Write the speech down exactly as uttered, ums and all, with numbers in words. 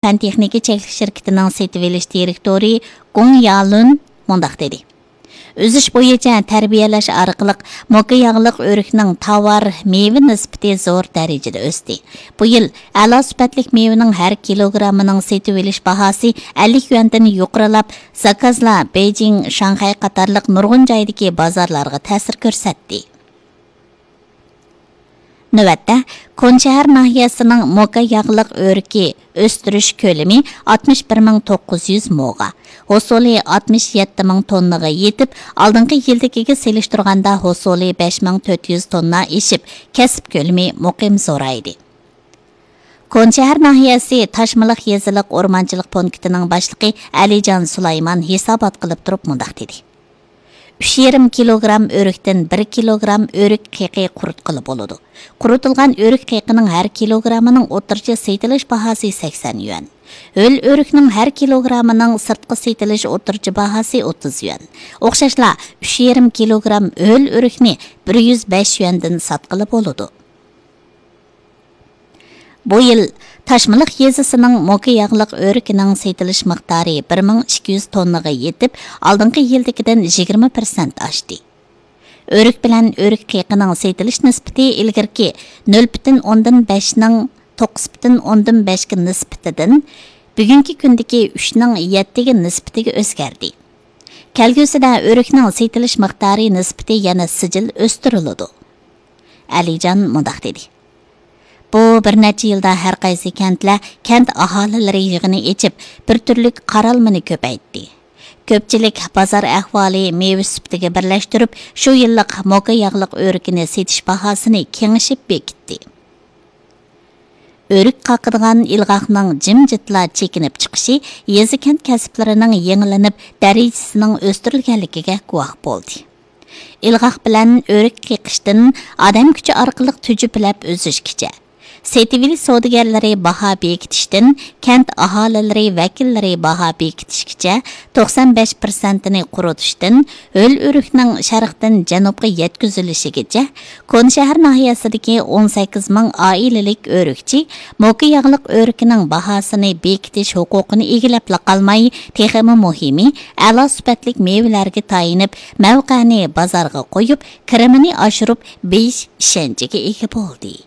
پەن تېخنىكا چەكلىك شىركىتىنىڭ سېتىۋېلىش دىرېكتورى گۇڭ يالۈن مۇنداق دېدى: ئۈزۈش بويىچە تەربىيەلەش ئارقىلىق موكا ياغلىق ئۆرۈكنىڭ تاۋار، مېۋە نىسبىتى زور دەرىجىدە ئۆستى. بۇ يىل ئەلا سۈپەتلىك مېۋىنىڭ ھەر كىلوگراممىنىڭ سېتىۋېلىش باھاسى ئەللىك يۈەندىن يۇقىرىلاپ، زاكازلار بېيجىڭ، شاڭخەي قاتارلىق نۇرغۇن جايدىكى بازارلارغا تەسىر كۆرسەتتى. نۆۋەتتە، كونشەھەر ناھىيەسىنىڭ موكا ياغلىق ئۆرۈكى ئۆستۈرۈش كۆلىمى ئاتمىش بىر مىڭ توققۇز يۈز موغا، ھوسۇلى ئاتمىش يەتتە مىڭ توننىغا يېتىپ، ئالدىنقى يىلدىكىگە سېلىشتۇرغاندا ھوسۇلى بەش مىڭ تۆت يۈز توننا ئېشىپ، كەسىپ كۆلىمى مۇقىم زورايدى. كونشەھەر ناھىيەسى تاشمىلىق يېزىلىق ئورمانچىلىق پونكىتىنىڭ باشلىقى ئەلىجان سۇلايمان ھېسابات قىلىپ تۇرۇپ مۇنداق دېدى: ئۈچ يېرىم كىلوگرام ئۆرۈكتىن بىر كىلوگرام ئۆرۈك قېقى قۇرۇتقىلى بولىدۇ. قۇرۇتۇلغان ئۆرۈك قېقىنىڭ ھەر كىلوگرامىنىڭ ئوتتۇرىچە سېتىلىش باھاسى سەكسەن يۈەن. ھۆل ئۆرۈكنىڭ ھەر كىلوگرامىنىڭ سىرتقا سېتىلىش ئوتتۇرىچە باھاسى ئوتتۇز يۈەن. ئوخشاشلا، ئۈچ يېرىم كىلوگرام ھۆل ئۆرۈكنى بىر يۈز بەش يۈەندىن ساتقىلى بولىدۇ. بۇ يىل تاشمىلىق يېزىسىنىڭ موكا ياغلىق ئۆرۈكىنىڭ سېتىلىش مىقدارى بىر مىڭ ئىككى يۈز توننىغا يېتىپ، ئالدىنقى يىلدىكىدىن يىگىرمە پىرسەنت ئاشتى. ئۆرۈك بىلەن ئۆرۈك قېقىنىڭ سېتىلىش نىسبىتى ئىلگىرىكى نۆل پۈتۈن ئوندىن بەشنىڭ توققۇز پۈتۈن ئوندىن بەشكە نىسبىتىدىن بۈگۈنكى كۈندىكى ئۈچنىڭ يەتتىگە نىسبىتىگە ئۆزگەردى. كەلگۈسىدە ئۆرۈكنىڭ سېتىلىش مىقدارى نىسبىتى يەنە سىجىل ئۆستۈرۈلىدۇ. ئەلىجان مۇنداق دېدى: بۇ بىر نەچچە يىلدا ھەر قايسى كەنتلەر كەنت ئاھالىلىرى يىغىنى ئېچىپ، بىر تۈرلۈك قارالمىنى كۆپەيتتى. كۆپچىلىك بازار ئەھۋالى مېۋە سۈپىتىگە بىرلەشتۈرۈپ، شۇ يىللىق موكا ياغلىق ئۆرۈكىنى سېتىش باھاسىنى كېڭىشىپ بېكىتتى. ئۆرۈك قاقىدىغان ئىلغاقنىڭ جىمجىتلا چېكىنىپ چىقىشى يېزا-كەنت كەسىپلىرىنىڭ يېڭىلىنىپ، دەرىجىسىنىڭ ئۆستۈرۈلگەنلىكىگە گۇۋاھ بولدى. ئىلغاق بىلەن ئۆرۈك قېقىشتىن ئادەم كۈچى ئارقىلىق تۈجۈپىلەپ ئۈزۈشكىچە، سېتىۋېلىش سودىگەرلىرى باھا بېكىتىشتىن كەنت ئاھالىلىرى ۋەكىللىرى باھا بېكىتىشكىچە، توقسان بەش پىرسەنتىنى قۇرۇتۇشتىن ھۆل ئۆرۈكنىڭ شەرقتىن جەنۇبقا يەتكۈزۈلۈشىگىچە، كونا شەھەر ناھىيەسىدىكى ئون سەككىز مىڭ ئائىلىلىك ئۆرۈكچى موكا ياغلىق ئۆرۈكىنىڭ باھاسىنى بېكىتىش ھوقۇقىنى ئىگىلەپلا قالماي، تېخىمۇ مۇھىمى، ئەلا سۈپەتلىك مېۋىلەرگە تايىنىپ، مەۋقەنى بازارغا قويۇپ، كىرىمىنى ئاشۇرۇپ، بېيىش ئىشەنچىگە ئىگە بولدى.